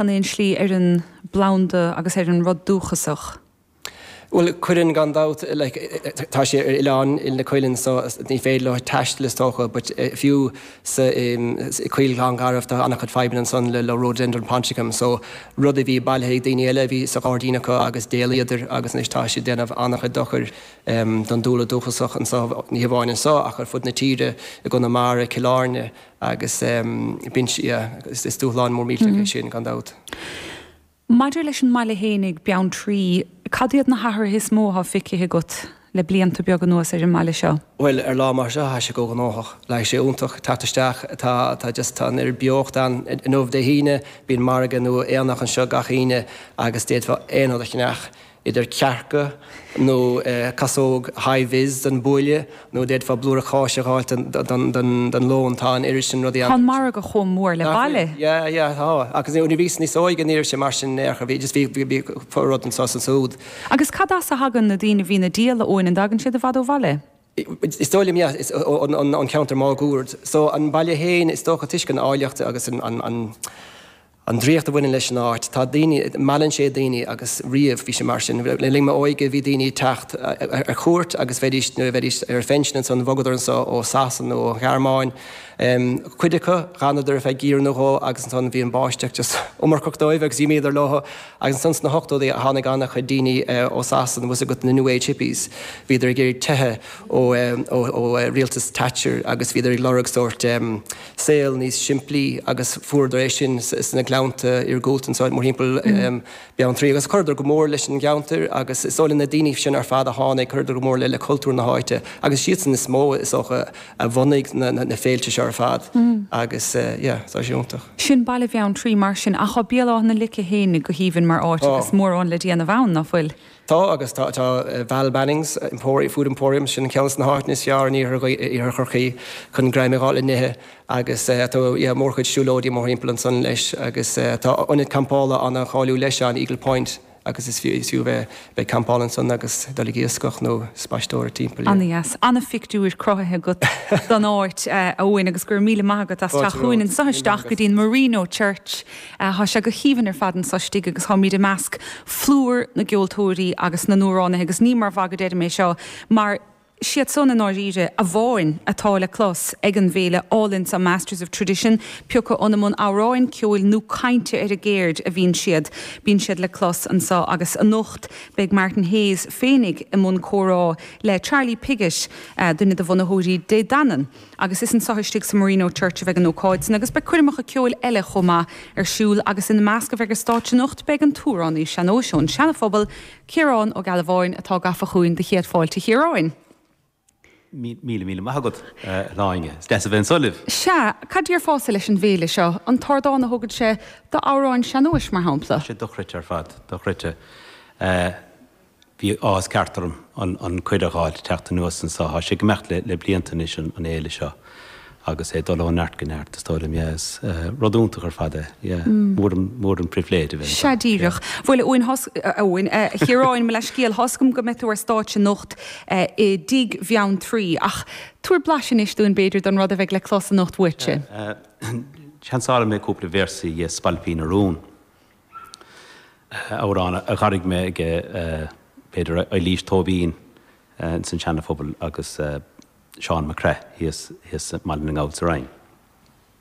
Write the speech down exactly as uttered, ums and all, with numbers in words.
in aon slí ar an bplanda agus ar an rud dúchasach? Bhuel, cuireann gan dabht, like, tá sé ar oileán na Cuilinn, so ní féidir leo taisteal is dócha, but fiú sa Choill Ghleann Garbh tá an-chuid fadhbanna ansan le le Rhododendron ponticum, so rud a bhí bailithe ag daoine eile a bhí sa ghairdín acu agus d'éalaíodar agus anois tá sé ag déanamh an-chuid dochair don dúlra dúchasach anseo, ní hamháin anseo ach ar fud na tíre, i gConamara, Cill Airne agus bíonn, yeah, is dúshlán mór millteach é sin gan dabht. Maidir leis an mbaile fhéinig, Beanntraí, cad iad na hathruithe is mó atá feicthe agat le blianta beaga anuas ar an mbaile seo? Bhuel, ar lá mar seo, tá sé chomh gnóthach. Like, sé iontach teacht isteach, tá, tá just, tá an oiread beocht ann. Inniu, Dé hAoine, bíonn margadh nó aonach anseo gach Aoine agus d'fhéadfá aon rud a cheannach. idir cearca nó casóg high-vis don bhuaile nó d'fhéadfá blúire cáise a dh'fháilt don lón, tá an oiread sin rudaí ann. Tá an margadh chomh mór le baile. Yeah, yeah, tá. Agus nuair a bhíos níos óige ní raibh sé mar sin ar chor, bhí just bhí, bhí, bhí rud anseo is ansúd. Agus cad as a thagann na daoine a bhíonn ag díol, a Eoin, an dtagann siad i bhfad ó bhaile? Is dóigh liom, yeah, is ón cheantar máguaird. So an baile féin, is dócha toisc an áilleacht agus an, an, an, An draíocht a bhaineann leis an áit. Tá daoine, meallann sé daoine agus riamh bhí sé mar sin. Le linn m'óige bhí daoine ag teacht ar cuairt agus bheidís, nuair a bheidís ar phension ansan, bhogadar anso ó Sasana nó ón Ghearmáin. Cuid acu, dh'fhanadar ar feadh geimhreadh nó dhó agus ansan bhí an báisteach just iomarcach dóibh agus d'imíodar leo. Agus ansan sna hochtóidí tháinig an-chuid daoine ó Sasana, bhfuil 's agat na New Age Hippies, bhíodar ag iarraidh teitheadh ó ó rialtas Thatcher agus bhíodar ag lorg sórt saol níos simplí agus fuaireadar é sin sna gleannta iargúlta anseo mórthimpeall Beanntraí agus chuireadar go mór leis an gceantar agus is dóigh liom na daoine sin ar fad a tháinig, chuireadar go mór le cultúr na háite agus siadsan is mó is dócha a bhunaigh na féilte seo ar fad agus yeah, tá sé iontach. Sin baile Bheanntraí mar sin ach tá Béal Átha na Lice féin go haoibhinn mar áit agus mórán le déanamh ann, ná fuil? Tá agus tá tá Val Bannings Food Emporium, sin ceann de na háiteanna is fearr in iarthar Chorcaí chun greim a fháil le n-ithe agus tá yeah mórchuid siúlóidí mórthimpeall ansan leis agus tá ionad campála an-cháiliúil leis ann, Eagle Point, agus is fiú is fiú bheith bheith ag campáil ansan agus dul ag iascach nó spaisteoireacht timpeall, yeah. An-dheas. An-phictiúr cruthaithe agat don áit, a Eoin, agus go raibh míle maith agat as teacht chugainn anso isteach go dtí an Marino Church. Tá sé go haoibhinn ar fad anso istigh agus táimid i measc phlúr na gceoltóirí agus na n-amhránaithe agus ní mar mhagadh a deirim é seo mar siad san i ndáiríre amháin atá le clos ag an bhféile álainn seo Masters of Tradition, pé acu i mbun amhráin, ceoil nó cainte ar an gceird a bhíonn siad, bíonn siad le clos anso agus anocht beidh Martin Hayes féinig i mbun comhrá le Charlie Piggott, duine de bhunaitheoirí Dé Danann. Agus is anso istigh sa Marino Church a bheidh an ócáid san agus beidh coirmeacha ceoil eile chomh maith ar siúl agus ina measc a bheidh ar stáitse anocht beidh an t-amhránaí sean-nóis ón Seana-Phobal, Ciarán Ó Gealbháin atá gafa chugainn do chéad fáilte a Chiaráin. Míle míle maith agat, a Shláine. Is deas a bheith anso libh. Sea, cad déarfása leis an bhféile seo? An t-ardán a thugann sé d'amhráin sean-nóis, mar shampla? Tá sé dochreidte ar fad, dochreidte. Bhí áthas ceart orm an cuireadh a fháil teacht anuas anso. Tá sé ag imeacht le blianta anois an fhéile seo agus é ag dul ó neart go neart is dóigh liom. Yeah, is rud iontach ar fad é. Yeah, mór an, mór an pribhléid a bheith anseo. Sea díreach. Bhuel, a Eoin, a Eoin, a Chiaráin, mo leithscéal, tá's agam go mbeidh tú ar stáitse anocht i dTigh Bheanntraí ach tabhair blaiseadh anois dúinn b'fhéidir don rud a bheidh le clos anocht uaitse. Sheansálfaidh mé cúpla véarsaí dhe Spailpín a Rún. amhrán a dh'airigh mé ag b'fhéidir Eilís Tóibín ins an Seana Phobal agus Seán Mac Craith thíos thíos i mBaile na nGall sa Rinn.